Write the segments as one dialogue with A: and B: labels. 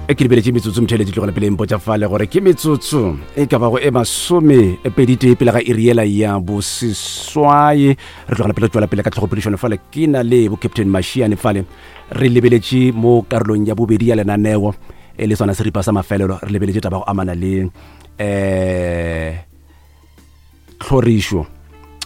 A: E ke lebeletše metsotso motheletši tlogela pele mpotša fale gore ke metsotso e ka bago e masome e peditee pele ga iri yela ya boseswai re tlogela pele tswela pele ka tlhogopedišano fale ke na le bo captain mashiane fale re lebeletše mo karolong ya bobedi ya lenaneo e le sona seripa sa mafelelo re lebeletše taba go amana le um tlhorišo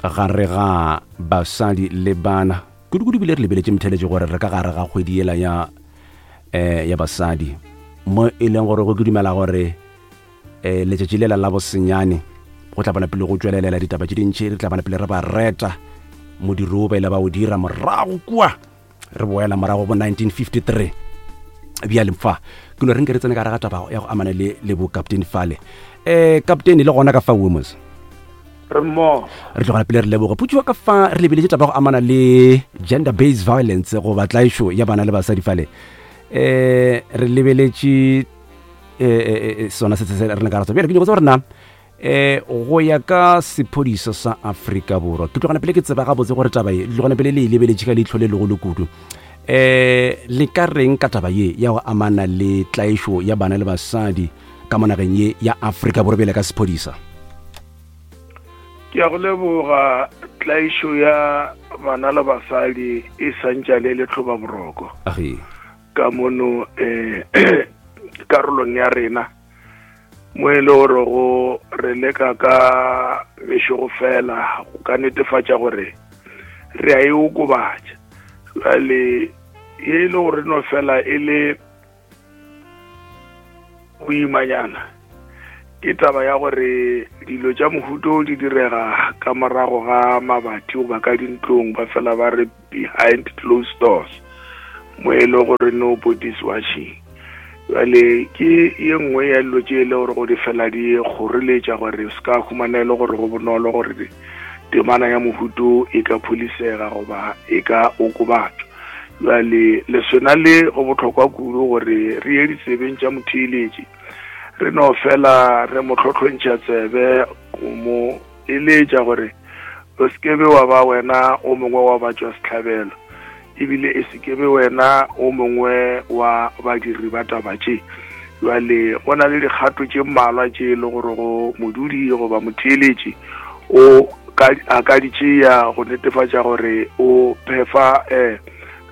A: gare ga basadi le bana kudu-kudu bile re lebeletše motheletše gore re ka gare ga kgwedi yela ya um ya basadi mo e leng gore go ke dumela gore um letšatši lela la bosenyane go tla bona pele go tšwelelela ditaba tše dintši re tla bona pele re ba reta modiro o ba ile ba o dira morago kua re boela morago bo 1953 bjale fa ke no re nke re tsene ka re ga taba ya go amana le le bo captain fale um captain le gona ka fa womos
B: re mmogo
A: re tlogela pele re leboga putšiwa ka fa re lebeletše taba go amana le gender based violence goba tlaišo ya bana le basadi fale um re lebeletše um sona se se re le ka ratsa bjale ke nyako tsa gore na um go ya ka sephodisa sa Afrika Borwa ke tlogana pele ke tseba gabotse gore taba ye tlogana pele le e lebeletše ka leihlo le legolo kudu um le ka reng ka taba ye ya go amana le tlaišo ya bana le basadi ka mo nageng ye ya Afrika Borwa bjale ka sephodisa?
B: Ke a go leboga. Tlaišo ya bana le basadi e santšane e le tlhobaboroko ka mono um karolong ya rena mo e le gore go re leka ka mešogo fela go ka netefatša gore re a e okobatša jale ye e le gore no fela e le boimanyana ke taba ya gore dilo tša mohuto di direga ka morago ga mabati goba ka dintlong ba fela ba re behind closed doors mo e le gore nobody's watching jale ke ye nngwe ya dilo tše e le gore go di fela di kgoreletša gore se ka humana e le gore go bonolo gore temana ya mohuto e ka pholisega goba e ka okobatšwa Bjale leswena le go bohlokwa kudu gore re ye ditsebeng tša motheeletši, re no fela re mo hlohlontšha tsebe go mo eletša gore o se ke be wa ba wena o mongwe wa batšwasehlabelo, ebile e se ke be wena o mongwe wa badiri ba taba tše. Bjale go na le dikgato tše mmalwa tše e le gore go modudi goba motheeletši o ka a ka di tšea go netefatša gore o phefa um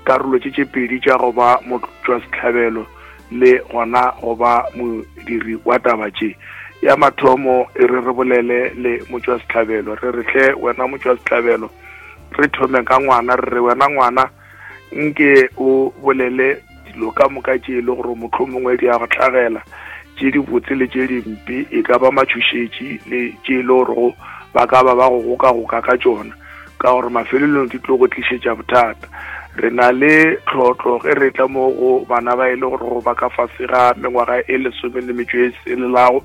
B: karolo tše tše pedi tša go ba motšwasehlabelo le gona go ba modiri wa taba tše. Ya mathomo e re re bolele le motšwasehlabelo re re hle wena motšwasehlabelo re thome ka ngwana re re wena ngwana nke o bolele dilo ka moka tše e le gore mohlomongwe di a go hlagela tše dibotse le tše dimpe e ka ba matšhošetši le tše e le gorego ba ka ba ba go gokagoka ka tšona ka gore mafelelong di tlo go tlišetša bothata re na le tlhotlo ge re tla mo go bana ba e le gore go ba ka fase ga mengwaga e lesome le metšo e selelago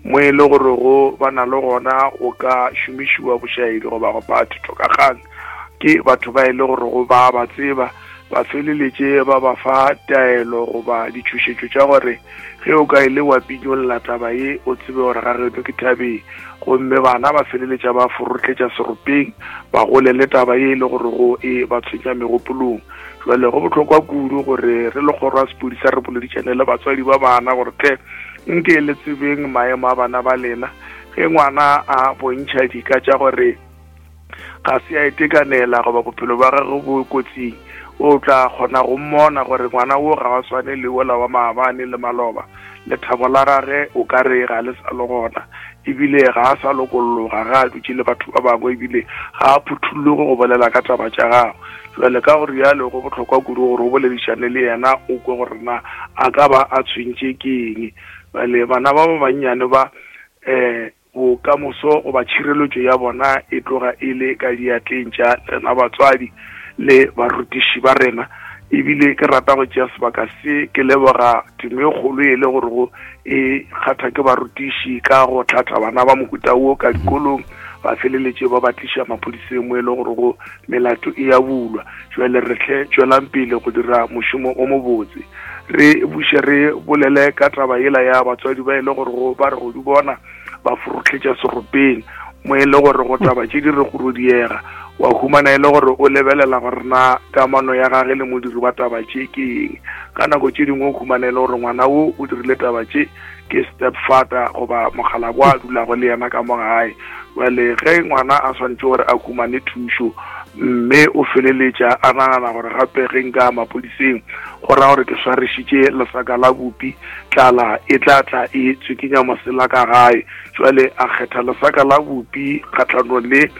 B: mo e le gore go ba na le gona go ka šomišiwa bošaedi goba go pha thitokakgang ke batho ba e le gore go ba ba tseba ba feleletše ba ba fa taelo goba ditšhošetšo tša gore ge o ka ile wa pinyolla taba ye o tsebe gore ga geno ke thabeng gomme bana ba feleletša ba forotletša seropeng ba golele taba ye e le gore go e ba tshwenya megopolong jale go bohlokwa kudu gore re le kgoro ya sepodisa re boledišane le batswadi ba bana gore tle nke le tsebeng maemo a bana ba lena ge ngwana a bontšha dika tša gore ga se a itekanela goba bophelo ba gagwe bo kotsing o tla kgona go mmona gore ngwana wo ga wa swane le wola wa maabane le maloba lethabo la gage o ka re ga le sa le gona ebile ga a sa lokolloga ga a dutše le batho ba bangwe ebile ga a phuthuloge go bolela ka taba tša gagwe jale ka gore jalo go bohlokwa kudu gore o boledišane le yena o kwe gore na a ka ba a tshwentše ke eng bale bana ba ba bannyane ba um Bokamoso goba tšhireletšo ya bona e tloga e le ka diatleng tša rena batswadi le barutiši ba rena. Ebile ke rata go tšea sebaka se ke leboga temo e kgolo e le gore go e kgatha ke barutiši ka go hlatha bana ba mohuta wo ka dikolong ba feleletše ba ba tliša maphodiseng mo e le gore go melato e ya bulwa. Jwale re hle tšwelang pele go dira mošomo o mobotse. Re buše re bolele ka taba yela ya batswadi ba e le gore go ba re go di bona ba forohletša seropeng mo e le gore go taba tše di re go rodiega. Wa humana e le gore o lebelela gore na kamano ya gage le modiri wa taba tše ke eng. Ka nako tše dingwe o humana e le gore ngwana wo o dirile taba tše ke stepfather goba mokgalabje a dulago le yena ka mo gae. Bjale ge ngwana a swanetše gore a humane thušo, mme o feleletša a nagana gore gape ge nka ya maphodiseng go ra gore ke swarišitše lesaka la bupi, tlala e tla tla e tswikinya mosela ka gae. Jwale a kgetha lesaka la bupi kgahlanong le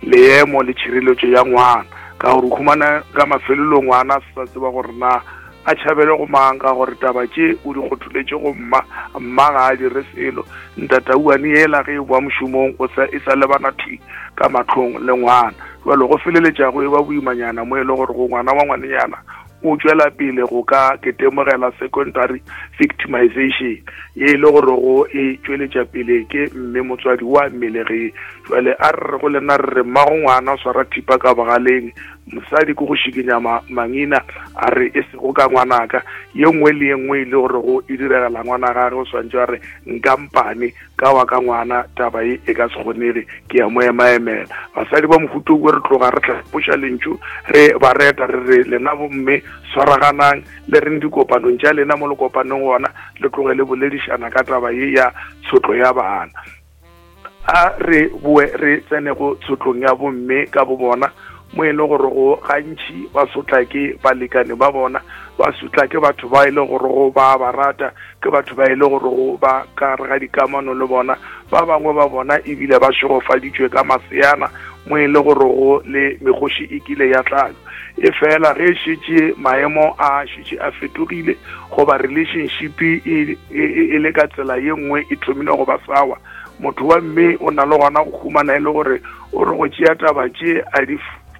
B: leemo le tšhireletšo ya ngwana, ka gore o humana ka mafelelong ngwana a se sa tseba gore na a tšhabele go mang, ka gore taba tše o di kgotholetše go mma, mma ga a dire selo. Ntatauwane yela ge e boa mošomong o sa e sa lebana thwi ka mahlong le ngwana. Jwale go feleletša go eba boimanyana mo e le gore go ngwana wa ngwanenyana o tšwela pele go ka ketemogela secondary victimization ye e le gore go e tšweletša pele ke mme motswadi wa mmelegi. Jwale a re re go lena re re mmago ngwana o swara thipa ka bogaleng, mosadi ke go šikinya mangina a re e sego ka ngwanaka. Ye nngwe le ye nngwe e le gore go e diregela ngwana gage o swantše a re nkampane ka wa ka ngwana, taba ye e ka se kgonege, ke ya mo emaemela. Basadi ba mohuta o re tloga re hlapoša lentšu re ba reta re re lena bomme swaraganang le reng dikopanong tša lena mo le kopaneng gona le tloge le boledišana ka taba ye ya tshotlo ya bana. A re boe re tsene go tshotlong ya bomme ka bo bona, mo e le gore go gantši ba sotla ke balekane ba bona, ba sotla ke batho ba e le gore go ba ba rata, ke batho ba e le gore go ba ka gare ga dikamano le bona. Ba bangwe ba bona ebile ba šegofaditšwe ka maseana, mo e le gore go le mekgoši e kile ya tlalo. E fela ge šetše maemo a šetše a fetogile, goba relationship e, e, e le ka tsela ye nngwe e thomile go ba sawa, motho wa mme o na le gona go humana e le gore o re go tšea taba tše a di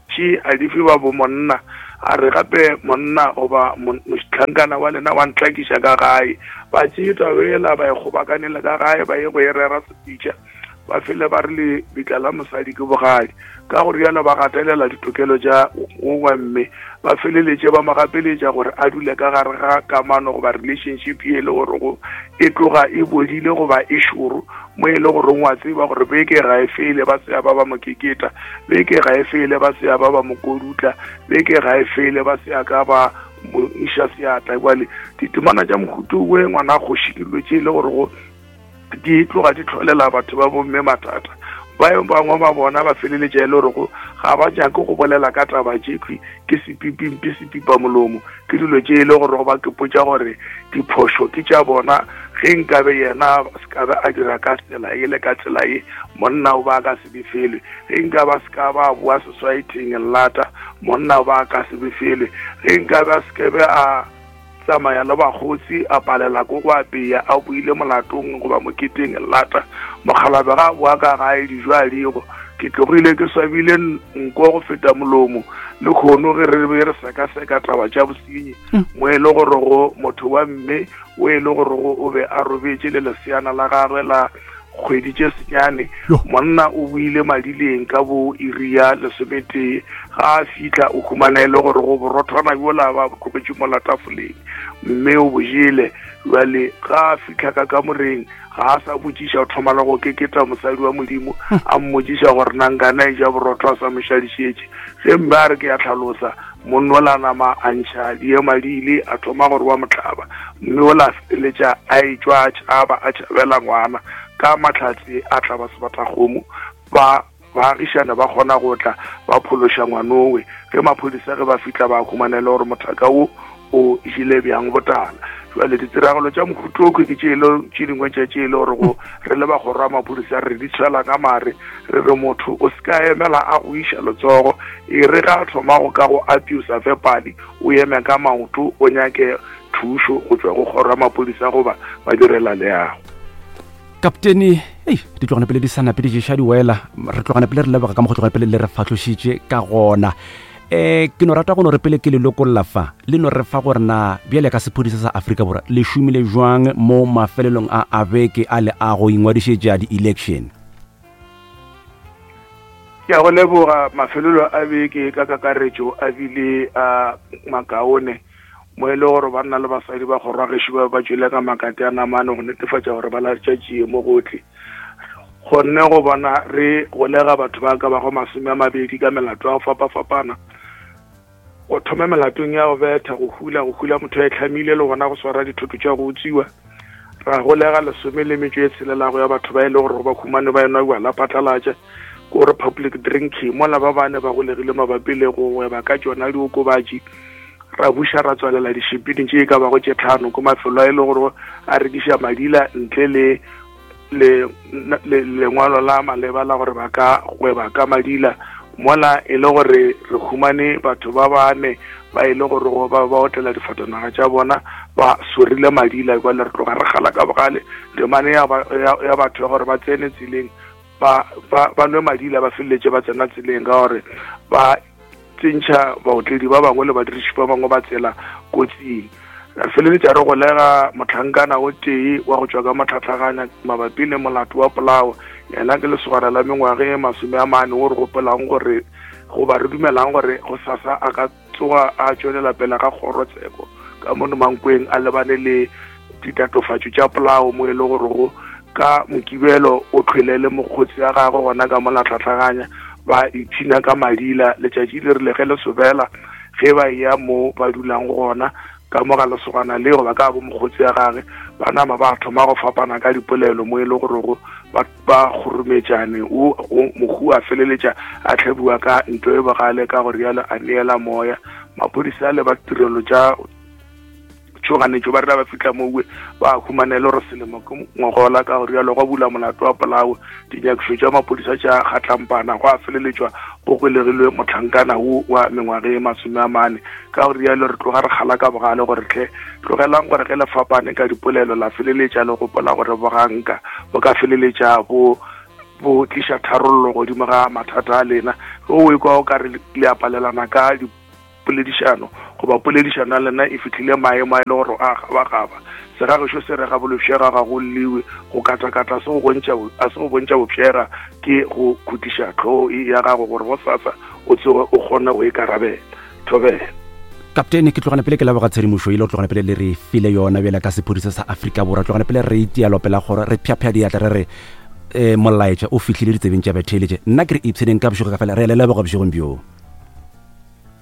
B: tše a di fe ba bo monna, a re gape monna goba mohlankana wa lena wa ntlakiša ka gae. Ba tšee taba ela ba e kgobakanele ka gae, ba ye go e rera sepitša, ba fele ba re lebitla la mosadi ke bogadi. Ka go rialo ba gatelela ditokelo tša wo wa mme, ba feleletše ba mo gapeletša gore a dule ka gare ga kamano goba relationship ye e le gore go e tloga e bodile goba e šoro, mo e le gore wa tseba gore beke ga e fele ba se ba ba mo keketa, beke ga e fele ba se ba ba mo kodutla, beke ga e fele ba se ka ba mo iša seatla. Jwale ditemana tša mohuto we ngwana kgoši ke dilo tše e le gore go di tloga di tlholela batho ba bomme mathata. Ba bangwe ba bona ba feleletša e le gore go ga ba nyake go bolela ka taba tšekhwi, ke sepipimpi sepipa molomo, ke dilo tše e le gore go ba kepotša gore diphošo ke tša bona. Ge nkabe yena se ka be a dira ka tsela e le ka tsela ye, monna o ba ka se befelwe. Ge nkabe a se ka ba a boa soswaetheng lata, monna o ba ka se befelwe. Ge nkabe a se ke be a tsamaya le bakgotsi a palela ko go apeya a boile molatong goba moketeng lata, mokgalabe ga a boa ka gae dijo a digo. Ke tlogile ke swabile nko go feta molomo le kgono ge re be re sekaseka taba tša bosenyi, mo e le gore go motho wa mme o e le gore go o be a robetše le leseana la gagwe la kgwedi tše senyane. Monna o boile madileng ka bo iri ya lesometee, ga a fihla o humana e le gore go borothwana bjola ba tlogetše mola tafoleng, mme o bo jele. Bjale ga a fihla ka kamoreng ga a sa botšiša, o thoma le go keketa mosadi wa Modimo, a mmotšiša gore na nkana e ja borotho a sa mo šadišetše. Ge mme a re ke ya tlhalosa, monna ola nama a ntšha diema di ile, a thoma gore wa mohlaba, mme ola feleletša a etšwa a tšhaba, a tšhabela ngwana. Ka mahlatse a tla ba sebatakgomo, ba baagišane ba kgona go tla ba phološa ngwanowe. Ge maphodisa ge ba fihla ba humana e le gore mothaka wo o jele bjang botala. Jwale ditiragalo tša mohuta o ke tše tše dingwe tša tše e le gore go re le bagoro a maphodisa re di tshwela ka mare, re re motho o se ka emela a go iša letsogo, e re ga a thoma go ka go abusa verbally o eme ka maoto o nyake thušo go tšwa go kgoro ya maphodisa goba ba direla leago.
A: Kaptene, ei, di tlogana pele di sa nape di ješa di wela, re tlogana pele re leboga ka mo go tlogana pele le re fahlošitše ka gona. Ke no rata go no re pele ke le lokolla fa, le no re fa gore na bjale ka sephodisa sa Afrika Borwa le šomile jwang mo mafelelong a a beke a le a go ingwadišetša di-election.
B: Ke a go leboga. Mafelelo a beke ka kakaretšo a bile a makaone, mo e le gore banna le basadi ba kgoro ya gešo ba ba tšwele ka makate a namane go netefatša gore ba latša tšie mo gohle. Kgonne go bona re golega batho ba ka bago 20 ka melato ya go fapafapana, go thoma melatong ya go betha, go hula, go hula motho a itlhamile le gona go swara dithoto tša go utswiwa. Ra golega 16 ya batho ba e le gore ba humane ba enwa bjala phatlalatša, ke gore public drinking, mola ba bane ba golegile mabapi le go gweba ka tšona diokobatši. Ra buša ra tswalela dišipini tše e ka bago tše tlhano ko mafelo a e le gore a rekiša madila ntle le le lengwalo la maleba la gore ba ka gweba ka madila, mola e le gore re humane batho ba bane ba e le gore ba ba otlela difatanaga tša bona ba sorile madila. Jwale re tloga re gala ka bogale temane ya batho ya gore ba tsene tseleng ba ba nwe madila ba feleletše ba tsena tseleng ka gore ba tsentšha baotledi ba bangwe le badiriši ba bangwe ba tsela kotsing. Re feleletša re golega mohlankana o tee wa go tšwa ka mohlatlaganya mabapi le molato wa polao. Yena ke lesogana la mengwaga e 40 wo re gopolang gore goba re dumelang gore gosasa a ka tsoga a tšwelela pele ga kgorotsheko ka mono Mankweng a lebane le ditatofatšo tša polao mo e le gorego ka Mokibelo o tlhwele le mokgotsi ya gagwe gona ka mola hlatlaganya ba ipshina ka madila. Letšatši le rile ge le sobela ge ba eya mo ba dulang gona ka mo ga lesogana le goba ka bo mokgotsi ya gage, ba nama ba thoma go fapana ka dipolelo mo e le gorego ba ba kgorometšane. O mohu a feleletša a tlhabiwa ka ntlo e bogale ka go rialo a neela moya. Maphodisa le ba tirelo tša tšhoganetšo ba rena ba fihla mowe ba humanele gore selemo ke ngogola ka go rialo gwa bula molato wa polao. Dinyakišo tša maphodisa tša kgatlampana gwa feleletšwa go golegilwe mohlankana wo wa mengwaga e 40. Ka go rialo re tloga re kgala ka bogale gore hle tlogelang gore ge le fapane ka dipolelo la feleletša le gopola gore boganka bo ka feleletša bo bo tliša tharollo godimo ga mathata a lena. Ge o ekwa o ka re le a palelana ka poledišano goba poledišano ya lena e fihlile maemo a e le gore a gabagaba, segagešo se re ga bolofšega ga go lliwe, go katakata se go bontšha a se go bontšha bofšega ke go khutiša tlhogo ya gago gore gosasa o tsoge o kgone go ikarabela. Thobela.
A: Kaptene, ke tlogana pele ke leboga tshedimošo ile o tlogana pele le re file yona bjale ka sephodisa sa Afrika Borwa. Tlogana pele re itia lopela gore re phyaphya diatla re re um molaetša o fihlile ditsebeng tša batheeletše. Nna ke re ipsheneng ka bošego ka fela re a le leboga bošegong bjo.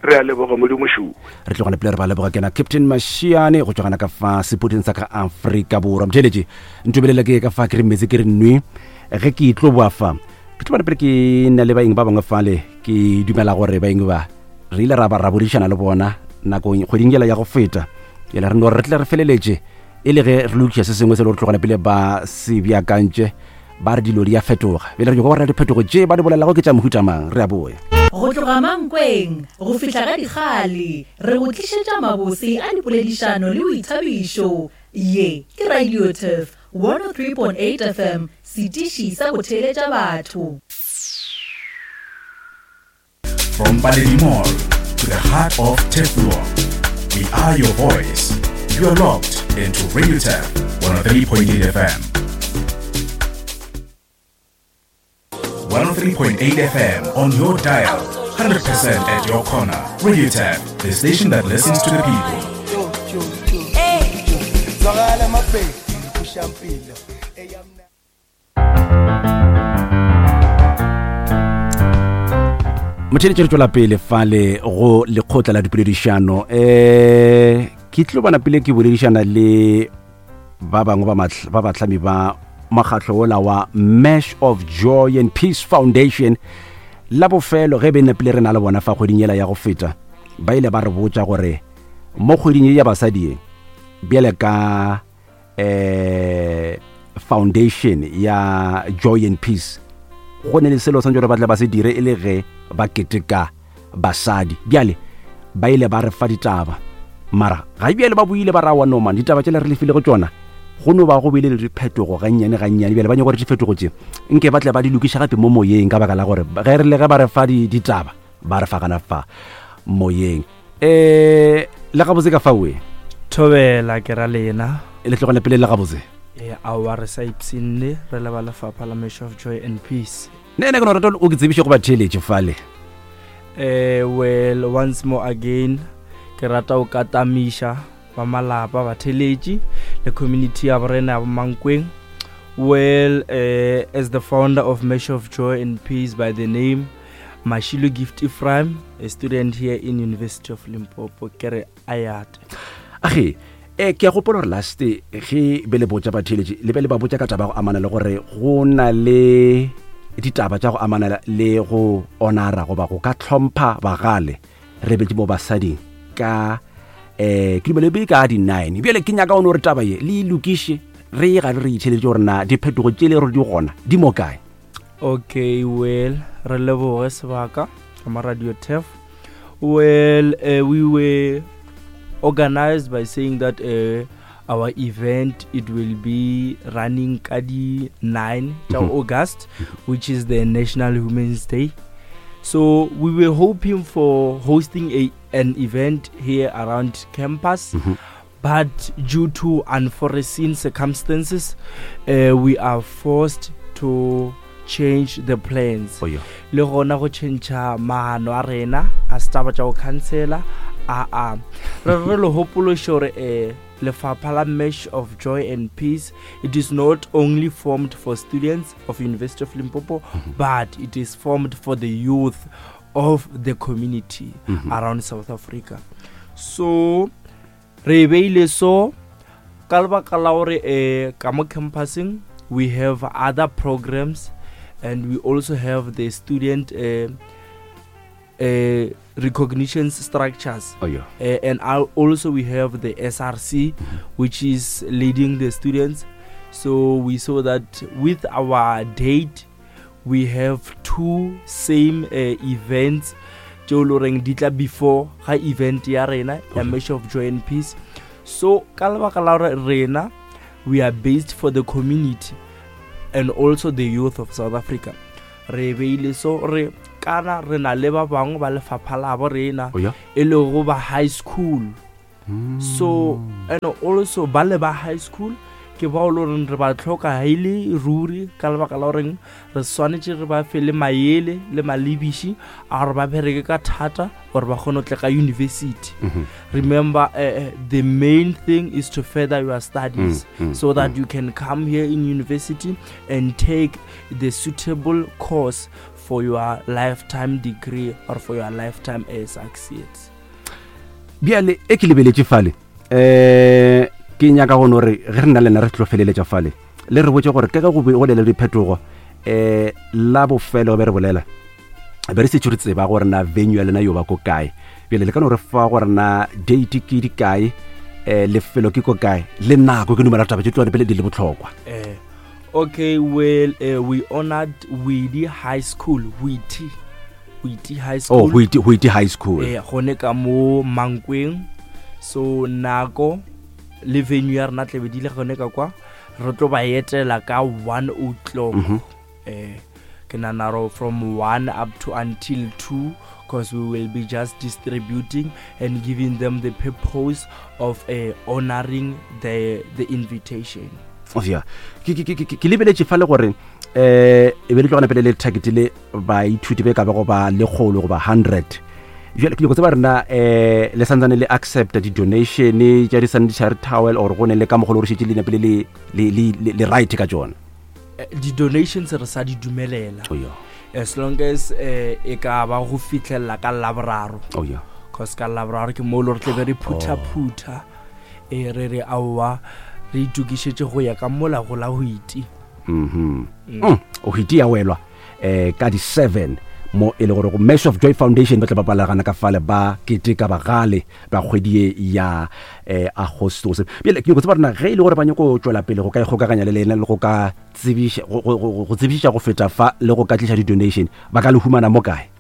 B: Re a leboga Modimo šuwe.
A: Re tlogana pele re ba leboga kena Captain Mashiane go tšwa gana ka fa sepodiseng sa ka Afrika Borwa. Motheeletše, ntobelele ke ka fa ke re metse ke re nwe ge ke tlo boa fa. Ke tlo bona pele ke na le baeng ba bangwe fale, ke dumela gore baeng ba re ile ra ba ra bodišana le bona nakong kgweding yela ya go feta. Yela re no re tle re feleletše e le ge re lokiša se sengwe se le gore tlogana pele ba se beakantše ba re dilo di a fetoga. Bjale re nyaka go rera diphetogo tše ba di bolelago ke tša mohuta mang. Re a boya.
C: Go tloga Mankweng go fihla ga Dikgale, re go tlišetša mabose a dipoledišano le boithabišo. Ye ke Radio Turf 103.8 FM, setiši sa go theeletša batho.
D: From Paledi Mall to the heart of Turfloop, we are your voice. You are locked into Radio Turf 103.8 FM. 103.8 FM on your dial, 100% at your corner. Radio Turf, the station that listens to the people.
A: Motheeletši, re tšwela pele fale go lekgotla la dipoledišano. Um ke tlo bona pele ke boledišana le ba bangwe ba bahlami ba mokgatlo ola wa Mesh of Joy and Peace Foundation. La bofelo ge be nepile re na le bona fa kgweding yela ya go feta, ba ile ba re botša gore mo kgweding ye ya basadi ye bjale ka eh foundation ya Joy and Peace go ne le selo santse gore ba tle ba se dire e le ge ba keteka basadi. Bjale ba ile ba re fa ditaba, mara ga bjale ba buile ba ra wa no man ditaba tšela re le file go tšona go no ba go bile le diphetogo gannyane gannyane. Bjale ba nyaka gore diphetogo tše nke ba tle ba di lokiša gape mo moyeng, ka baka la gore ge re le ge ba re fa ditaba ba re fa gana fa moyeng. Um le gabotse ka faoe
E: Thobela ke ra lena.
A: Le tlogele pele le gabotse.
E: E aowa re sa ipshinne re le ba lefapha la Mesh of Joy and Peace.
A: Ne ne ke no rata o ke tsebiše go ba theeletše fale.
E: Well, once more again ke rata o katamiša ba malapa, batheeletši le community ya borena ya Mankweng Well, uh, as the founder of Mesh of Joy and Peace by the name Mashilo Gift Ephraim, a student here in University of Limpopo, ke re ayate.
A: Age, eh ke a gopola gore last ge be le botša batheeletši le be le ba botša ka taba go amana le gore go na le ditaba tša go amana le go honora goba go ka hlompha bagale re betše mo basading ka um ke dumele be ka di-nine bjale ke nyaka one gore taba ye le e lokiše re ye gare re itheletše gore na diphetogo tše le gore di gona di mo kae.
E: Okay, well, re leboge sebaka ka mo Radio Turf. Well, we were organized by saying that our event, it will be running ka di 9 tša August, which is the National Women's Day. So we were hoping for hosting an event here around campus, but due to unforeseen circumstances, we are forced to change the plans.
A: Oh, yeah.
E: Le gona go change maano a rena a setaba tša go cancela a a re re le hopološe gore lefapha la Mesh of Joy and Peace, it is not only formed for students of University of Limpopo, but it is formed for the youth of the community around South Africa. So re beile so ka lebaka la gore ka mo campuseng we have other programs, and we also have the student recognition structures.
A: Oh, yeah.
E: And also we have the SRC, which is leading the students. So we saw that with our date, we have two same events tšeo le goreng di tla before ga event ya rena ya Mesh of Joy and Peace. So ka lebaka la gore rena we are based for the community and also the youth of South Africa, re beile so re kana re na le ba bangwe ba lefapha la bo rena,
A: Oh, yeah.
E: e lego ba high school. So and also ba le ba high school ke bao le goreng re ba tlhoka ha e le ruri, ka lebaka la goreng re swanetše re ba fe le maele le malebiši a gore ba bereke ka thata gore ba kgone go tla ka university. Remember, the main thing is to further your studies so that you can come here in university and take the suitable course for your lifetime degree or for your lifetime success.
A: Bjale e ke lebeletše fale, ke nyaka go no re ge re nna le nna re tlo feleletša fale, le re botše gore ke ge go be go le le diphetogo, la bofelo be re bolela be re setse re tseba gore na venue ya lena yo ba ko kae. Bjale le ka no re fa gore na date ke di kae, lefelo ke ko kae, le nako. Ke dumela taba tše tloga pele di le bohlokwa.
E: Okay, well, we honored Widi High School, Witi, Witi High
A: Oh,
E: School.
A: Witi, Witi High School.
E: Gone ka mo Mankweng. So nako le venue ya rena tlebe di le gone ka kwa, re tlo ba etela ka 1 o'clock. Ke nahana gore from 1 up to until 2, because we will be just distributing and giving them the purpose of honoring the invitation.
A: Oh, yeah. Ke lebeletše fa le gore, e be le tlogana pele le target le baithuti be ka ba go ba lekgolo goba 100. Bjale ke nyako tseba rena, le santsane le accepta di-donation tša di-sanitary towel or go ne le ka mogolo gore šetše le napile le right ka tšona?
E: Di-donations re sa di dumelela.
A: Oh, yeah.
E: As long as e ka ba go fihlelela ka Laboraro.
A: Oh, yeah.
E: Cause ka Laboraro ke mo le re tlebe re phutha-phutha, re re aowa re itokišetše go ya ka mola go la Hwiti.
A: O Hwiti ya welwa, ka di-7 mo e le gore go Mesh of Joy Foundation ba tla bapalagana ka fale ba keteka bagale ba kgwedi ye ya Agostose. Bjale ke nyako tseba rena ge e le gore ba nyako tšwela pele go ka ikgokaganya le lena le go ka tsebiša, go tsebišiša go feta fa le go ka tliša di-donation, ba ka le humana mo kae?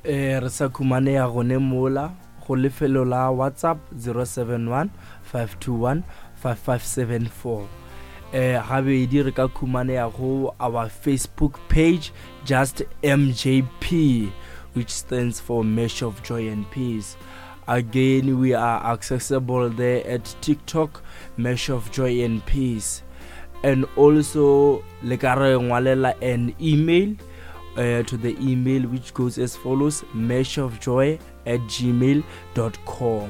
E: Re sa khumaneya gone mola go lefelo la WhatsApp 071 521 5574. Gabedi re ka khumaneya go our Facebook page, just MJP, which stands for Mesh of Joy and Peace. Again, we are accessible there at TikTok, Mesh of Joy and Peace. And also, le ka re ngwalela an email to the email which goes as follows, meshofjoy@gmail.com.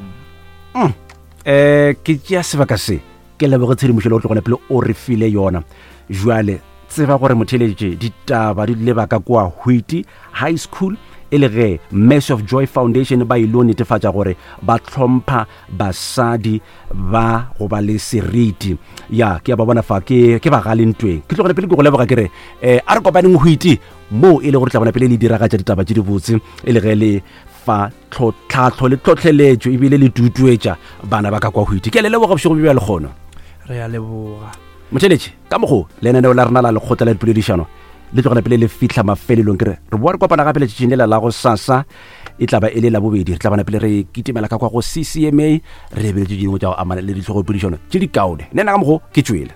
A: Ke tšea sebaka se. Ke leboge tshedimošo le go tlogona pele o re file yona. Jwale tseba gore motheletše ditaba di leba ka kua Hwiti High School e le ge Mercy of Joy Foundation ba ilo netefatša gore ba hlompha basadi ba go ba le seriti. Ya, ke a ba bona fa, ke, ke bagale ntweng. Ke tlogele pele ke go leboga ke re, eh, a re kopaneng Hwiti moo e le gore tla bona pele le diragatša ditaba tše dibotse e le ge le fa tlhahlo le tlhohleletšo ebile le tutuetša bana ba ka kwa Hwiti. Ke a le leboga bošego bjo bja lekgono.
E: Re a leboga.
A: Motheletši, ka mokgo lenaneo la rena la lekgotla la dipoledišano le tlogela pele le fihla mafelelong, ke re re boa re kopana gape letšatšing lela la go sasa, e tla ba e le la bobedi. Re tla bona pele re kitimela ka kwa go CCMA, re lebeletše dingwe tša go amana le dihlogopoledišano tše di kaone. Nna ka mokgo ke tšwele.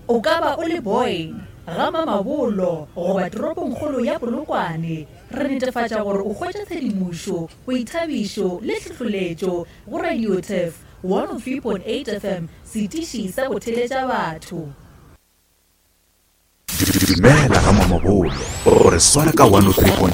C: O ka ba o le Boyne, ga Mamabolo goba toropongkgolo ya Polokwane, re netefatša gore o hwetša tshedimošo, boithabišo le hlohloletšo go Radio Turf 103.8 FM, setiši sa go theletša batho.
D: Dumela ga Mamabolo, o re swara ka 103.8.